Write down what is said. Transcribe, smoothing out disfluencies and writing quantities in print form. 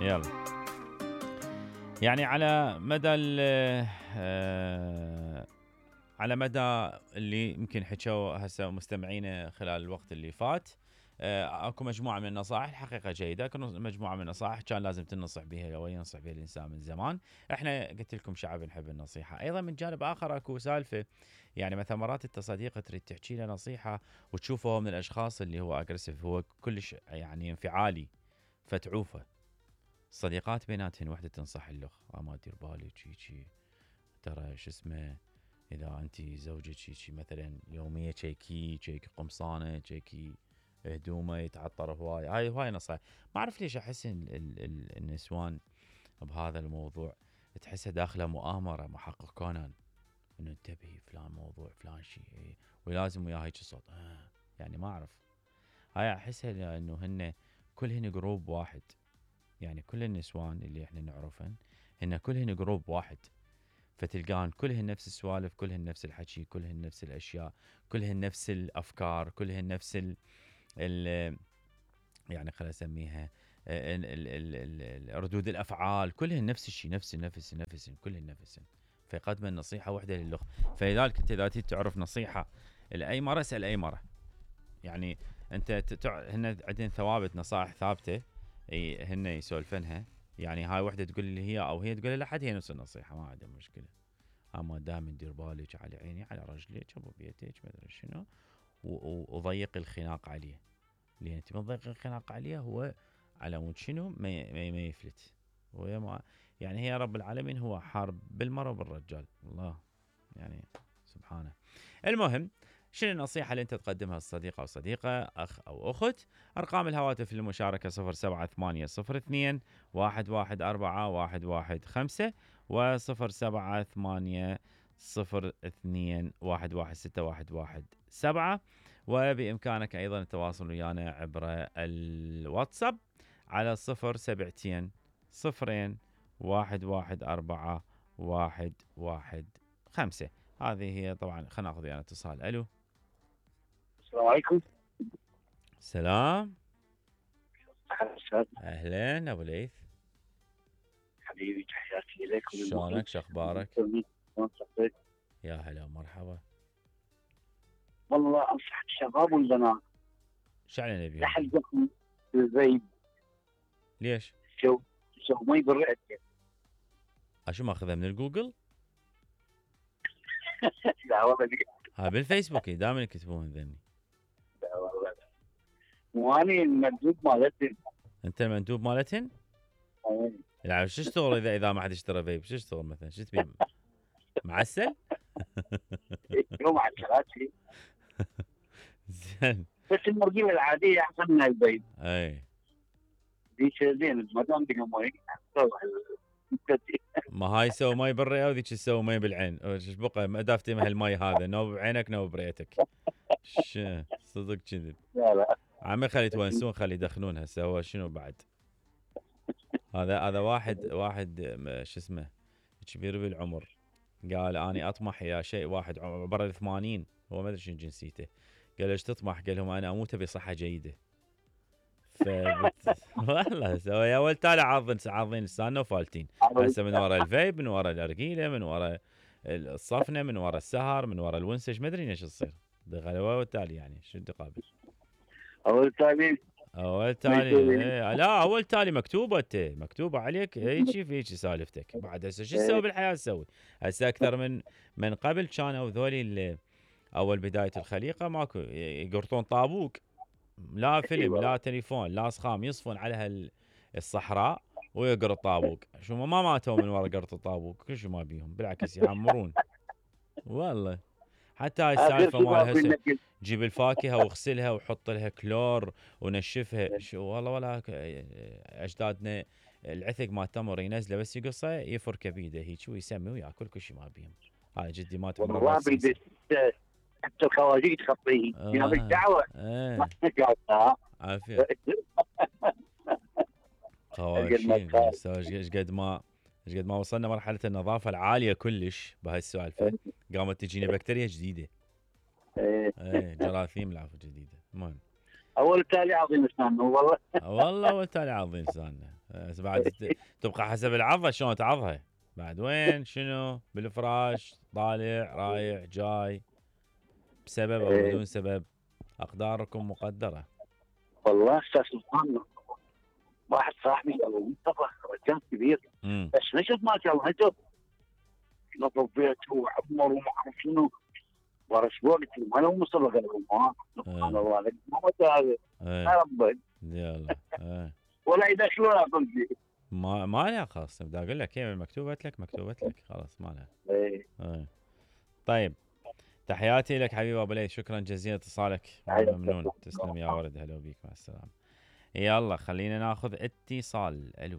يلا يعني على مدى على مدى اللي يمكن حكوا هسه مستمعينا خلال الوقت اللي فات، اكو مجموعه من النصائح الحقيقه جيده، اكو مجموعه من النصائح كان لازم تنصح بها او ينصح بها الانسان من زمان. احنا قلت لكم شعب نحب النصيحه. ايضا من جانب اخر اكو سالفه، يعني مثلا مرات انت صديقه تريد تحكي له نصيحه وتشوفه هو من الاشخاص اللي هو اجريسيف، هو كلش يعني انفعالي، فتعوفه. الصديقات بيناتهن وحده تنصح الاخ ما دير بالك شي ترى شو اسمه، اذا انت زوجك شي مثلا يوميا تشيكي قمصانه، تشيكي هدومه يتعطر هواي نصائح. ما اعرف ليش احس ان النسوان بهذا الموضوع تحسها داخله مؤامره محقق كونان، انه انتبهي فلان موضوع فلان شيء ولازم وياه هيك صوت يعني ما اعرف. هاي احسها لانه هن كلهن جروب واحد، يعني كل النسوان اللي احنا نعرفهن هن كلهن جروب واحد، فتلقان كلهن نفس السوالف، كلهن نفس الحكي، كلهن نفس الاشياء، كلهن نفس الافكار، كلهن نفس ال يعني خلينا نسميها ردود الافعال، كلهن نفس الشيء، نفس كلهن نفسهن. فيقدم النصيحه وحده للاخ. فلذلك انت اذا تعرف نصيحه لاي مره اسال اي مره، يعني انت هن عندنا ثوابت نصائح ثابته هن يسولفنها، يعني هاي وحده تقول لي هي او هي تقول لحد هي نفس النصيحه ما عندها مشكله. اما دائما دير بالك على عيني على رجليك ابو بيتك ما ادري شنو، وضيق الخناق عليه، لان انت من ضيق الخناق عليه هو على مود شنو ما يفلت. هو يعني هي رب العالمين هو حارب بالمرأة وبالرجال، الله يعني سبحانه. المهم شنو النصيحة اللي انت تقدمها للصديق او صديقة، اخ او اخت؟ ارقام الهواتف للمشاركة 07802 114 115 و078 02 116 وبإمكانك أيضا التواصل ويانا عبر الواتساب على 072 0 114 115. هذه هي طبعا. خلينا ناخذ يعني اتصال. الو السلام عليكم. سلام. اهلا ابو ليث حبيبي، تحياتي لك. شلونك شخبارك؟ يا هلا مرحبا. والله انصح الشباب والبنات شعلنا نبيهم لحقكم الفيب. ليش؟ شو ما يبرئك. شو ماخذها من الجوجل؟ لا والله ها بالفيسبوك دائما يكتبون ذني. لا والله واني المندوب مالتهم. انت المندوب مالتهن؟ لا شو اشتغل اذا ما حد اشترى فيب؟ شو اشتغل مثلا؟ شو تبي معسل؟ يوم على الثلاثة. زين. بس المرجيله العاديه احسن من الفيب. اي ديش زين ما دام بينهم مي. ما هاي يسوي مي بالرئه وذيك تسوي مي بالعين. ايش بقى ما دافتي مه المي هذا نوب بعينك نوب بريتك. صدق كذب. لا عمي خلي يتونسون خلي يدخنون هسه. هو شنو بعد؟ هذا واحد شو اسمه كبير بالعمر قال اني اطمح يا شيء. واحد عبر ال80 هو ما ادري شنو جنسيته، قال ايش تطمح؟ قال لهم انا اموت بصحه جيده. والله سوى يا ولد تالي عاضين لساننا وفالتين هسه من ورا الفيب، من ورا الارجيله، من ورا الصفنه، من ورا السهر، من ورا الونسج، ما ادري ايش تصير. دغلوا والتالي يعني شو تقابل؟ اول تالي لا اول تالي مكتوبه عليك هيك في هيك سالفتك. بعد هسه شو تسوي بالحياه؟ تسوي هسه اكثر من قبل كانوا ذولي اول بدايه الخليقه ماكو يقرطون طابوق، لا فيلم لا تليفون لا صخام، يصفون على الصحراء ويقرط طابوق. شو ما ماتوا من ورا قرط الطابوق، كل شيء ما بيهم بالعكس يعمرون. والله حتى هاي السالفه مال هسه جيب الفاكهه واغسلها وحط لها كلور ونشفها. شو والله ولا اجدادنا العثق مال تمر ينزله بس يقصه يفركه بيده هيك ويسمي وياكل كل شيء ما بيهم. هاي جدي مات عمره والله حتى الخواجي تخطيه يا بالدعوه. عافيه خواشين. ايش قد ما وصلنا مرحله النظافه العاليه كلش بهاي السالفه قامت تجينا بكتيريا جديده. ايه جراثيم العفو جديده. المهم هو التالي عظيم اسنانه والله. والله والتالي عض لساننا. بس بعد تبقى حسب العضه شلون تعضها. بعد وين شنو بالفراش طالع رايح جاي بسبب او بدون سبب. اقداركم مقدره. والله استاذ سلطان، واحد صاحبي طبخ رجال كبير، بس نشف ما شاء الله نشف، نظف بيته وعمر وما اعرف شنو، ورش وقت ما لو مصر قال ما سبحان الله عليك ما هذا يا ربي يلا ولا يدخلون اقول شيء. ما لها خاص بدي اقول لك هي مكتوبه لك خلاص ما لها. طيب تحياتي لك حبيبي ابو ليث، شكرا جزيلا اتصالك ممنون. تسلم يا ورد، هلا بيك مع السلامه. يلا خلينا ناخذ اتصال. الو